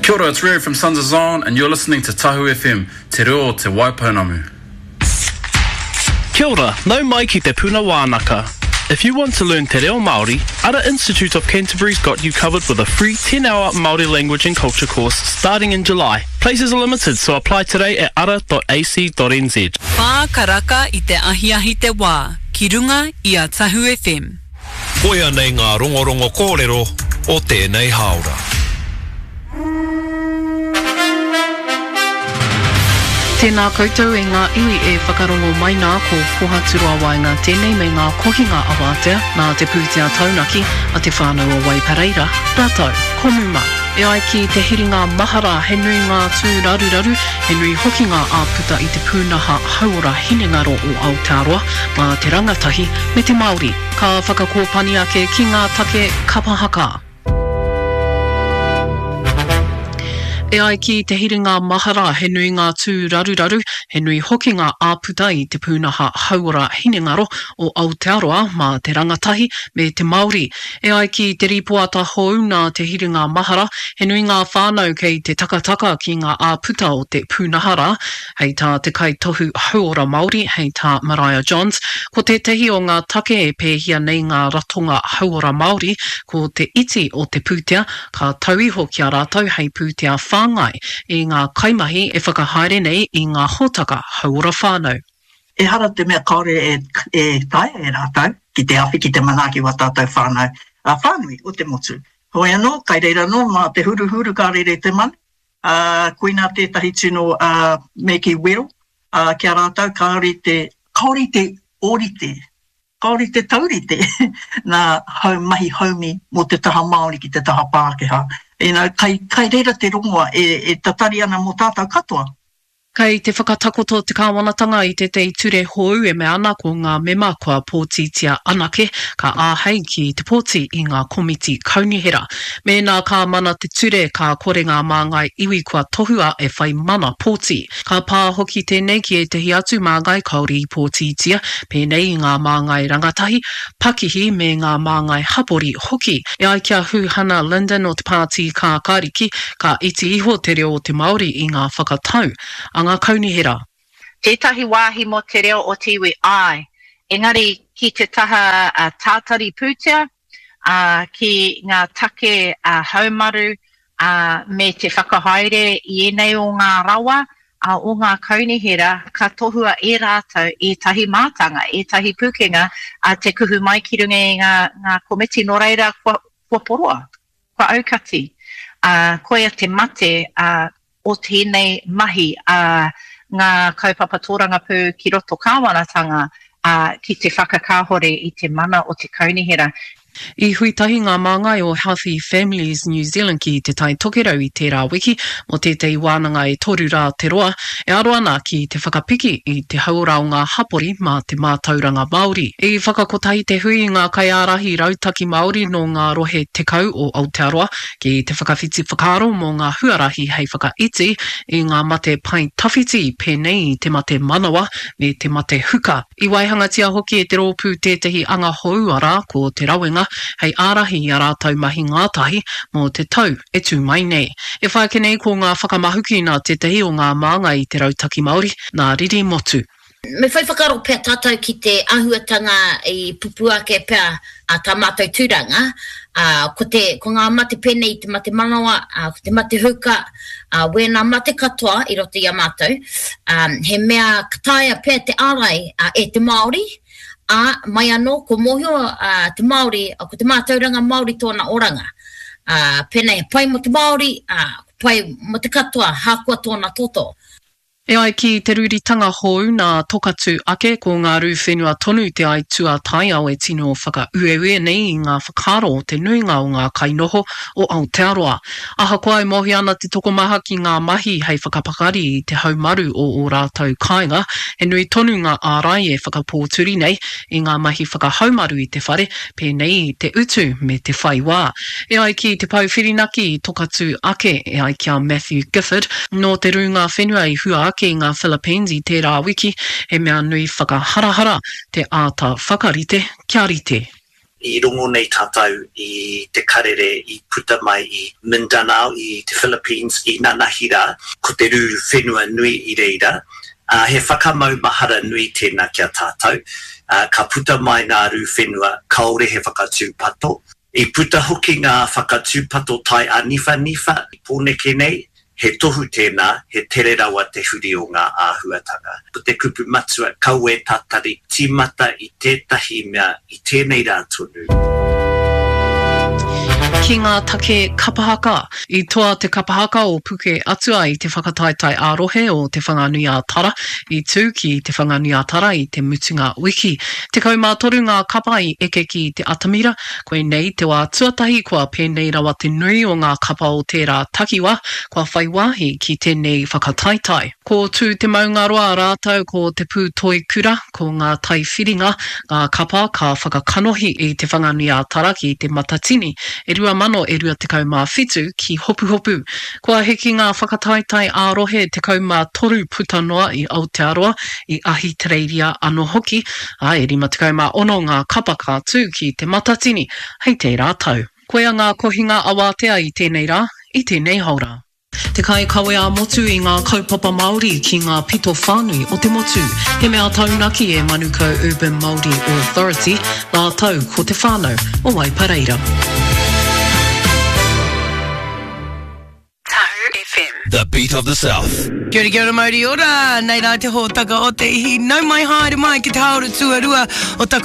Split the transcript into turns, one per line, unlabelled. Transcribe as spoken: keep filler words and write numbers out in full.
Kia ora, it's Rio from Sons of Zion and you're listening to Tahu F M, Te Reo o Te Waipounamu.
Kia ora, nau mai ki Te Puna Wānaka. If you want to learn Te Reo Māori, Ara Institute of Canterbury's got you covered with a free ten-hour Māori language and culture course starting in July. Places are limited, so apply today at ara dot A C dot N Z.
Whā karaka i te ahiahi te wā, ki runga i a Tahu F M.
Koia nei ngā rongorongo kōrero o tēnei hāora.
Tēnā koutou e ngā iwi e whakarongo mai nā, ko Pohaturoa Waenga tēnei me ngā kohinga awatea nā te pūtea taunaki a Te Whānau o Waipareira rātou ko Muma. E ai ki te hiringa mahara he nui ngā tūraruraru, he nui hoki ngā āputa i te pūnaha hauora hinengaro o Aotearoa mā te rangatahi me te Māori. Ka whakakōpani ake ki ngā take kapa haka. E ai ki te hiringa mahara he nui ngā tūraruraru, he nui hoki ngā āputa i te pūnaha hauora hinengaro o Aotearoa mā te rangatahi me te Māori. E ai ki te rīpoata hou nā te hiringa mahara, he nui ngā whānau kei te takataka ki ngā āputa o te pūnaha rā. Hei tā te kaitohu hauora Māori, hei tā Mariah Johns, ko tētahi o ngā take e pēhia nei ngā ratonga hauora Māori, ko te iti o te pūtea ka tau iho ki a rātou hei pūtea whāngai i ngā kaimahi e whakahaere nei i ngā hōtaka hauora whānau.
Ehara te mea kāore e, e taea e rātou ki te awhi ki te manaaki wa tātou whānau a whānui o te motu. Hoi anō, kai reira anō mā te huruhuru ka rere te manu, uh, koina tētahi tino uh, me ki wero uh, ki a rātou kāore te, kāore te ōrite, kāore te taurite nā hau mahi haumi mō te taha Māori ki te taha Pākehā. You know, kai, kai reira te rongoa e, e tatari ana mō tātou katoa.
Kei te whakatakoto te kāwanatanga i tētahi ture hou e mea ana ko ngā mema kua pōtitia anake ka āhei ki te pōti i ngā komiti kaunihera. Mēnā ka mana te ture ka kore ngā māngai iwi kua tohua e whai mana pōti. Ka pā hoki tēnei ki ētahi atu māngai kāore i pōtitia, pēnei i ngā māngai rangatahi, pakihi me ngā māngai hapori hoki. E ai ki a Huhana Lyndon o te Pāti Kākāriki, ka iti iho te reo o te Māori i ngā whakatau a ngā kaunihera.
Tētahi wāhi mō te reo o te iwi, āe. Engari ki te taha uh, tātari pūtea, uh, ki ngā take uh, haumaru uh, me te whakahaere i ēnei o ngā rawa uh, o ngā kaunihera, ka tohua e rātou ētahi mātanga, ētahi pūkenga uh, te kuhu mai ki runga i ngā, ngā komiti. Nō reira, kua, kua poroa, kua aukati. Uh, koia te mate uh, o tēnei mahi a uh, ngā kaupapa tōrangapū ki roto kāwanatanga uh, ki te whakakāhore i te mana o te kaunihera.
I hui tahi ngā māngai o Healthy Families New Zealand ki te Tai Tokerau i tērā wiki mō tētahi wānanga e toru rā te roa e aro ana ki te whakapiki i te hauora o ngā hapori mā te mātauranga Māori. I whakakotahi te hui i ngā kaiārahi rautaki Māori nō ngā rohe tekau o Aotearoa ki te whakawhiti whakaaro mō ngā huarahi hei whakaiti i ngā mate pae tawhiti pēnei i te mate manawa me te mate huka. I waihangatia hoki e te rōpū tētahi anga hou arā ko te rawenga hei ārahi i a rātou mahi ngātahi mō te tau e tū mai nei. E whai ake nei ko ngā whakamahuki nā tētahi o ngā māngai i te Rautaki Māori, nā Riri Motu.
Me whai whakaaro pea tātou ki te āhuatanga i pupū ake pea a tā mātou tūranga, ā, ko te, ko ngā mate pēnei i te mate manawa, ā, ko te mate huka, ā, wēnā mate katoa i roto i a mātou, ā, he mea ka taea pea te ārai e te Māori, ā, mai anō, kua mōhio te Māori, ko te mātauranga Māori tōna oranga. Ā, pēnei he pai mō te Māori, ā, pai mō te katoa, hākoa tōna toto.
E ai ki te rūritanga hou nā Tokatū ake, ko ngā rū whenua tonu te aituā taiao e tino whakaueue nei i ngā whakaaro o te nuinga o ngā kainoho o Aotearoa. Ahakoa e mōhio ana te tokomaha ki ngā mahi hei whakapakari i te haumaru o ō rātou kāinga, he nui tonu ngā ārai e whakapōturi nei i ngā mahi whakahaumaru i te whare, pēnei i te utu me te whai wā. E ai ki Te Pou Whirinaki i Tokatū ake, e ai ki a Matthew Gifford, nō te rūnga whenua i hua ake i ngā Philippines i tērā wiki, he mea nui whakaharahara te āta whakarite kia rite.
I rongo nei tātou i te karere i puta mai i Mindanao, i te Philippines, i nanahi rā, ko te rū whenua nui i reira. Ā, he whakamaumahara nui tēnā ki a tātou. Ā, ka puta mai ngā rū whenua, kāore he whakatūpato. I puta hoki ngā whakatūpato tai āniwhaniwha i Pōneke nei, he tohu tēnā, he tere rawa te huri o ngā āhuatanga. Ko te kupu matua, kaua e tatari, tīmata i tētahi mea i tēnei rā tonu.
Ki ngā take kapa haka. I toa te kapa haka o Puke Atua i te whakataetae ā-rohe o Te Whanganui-ā-Tara i tū ki Te Whanganui-ā-Tara i te mutunga wiki. Tekau mā toru ngā kapa i eke ki te atamira, koinei te wā tuatahi kua pēnei rawa te nui o ngā kapa o tērā takiwā kua whai wāhi ki tēnei whakataetae. Ko Tū Te Maungaroa rātou ko Te Pūtoikura, ko Ngā Taiwhiringa, ngā kapa ka whakakanohi i Te Whanganui-ā-Tara ki Te Matatini e rua mano e rua tekau mā whitu ki Hopuhopu. Kua hiki ngā whakataetae ā-rohe tekau mā toru puta noa i Aotearoa, i Ahitereiria anō hoki, ā, e rima tekau mā ono ngā kapa ka tū ki Te Matatini hei tērā tau. Koia ngā kohinga awātea i tēnei rā, i tēnei haora. Te kaikawe ā-motu i ngā kaupapa Māori ki ngā pito whānui o te motu. He mea taunaki e Manukau Urban Māori Authority rātou ko te whānau o Waipareira.
Tahu FM.
The beat of the South.
Kia ora, kia ora, mauri ora. Nei rā te hōtaka o te ihi. Nau mai haere mai ki te haora tuarua o taku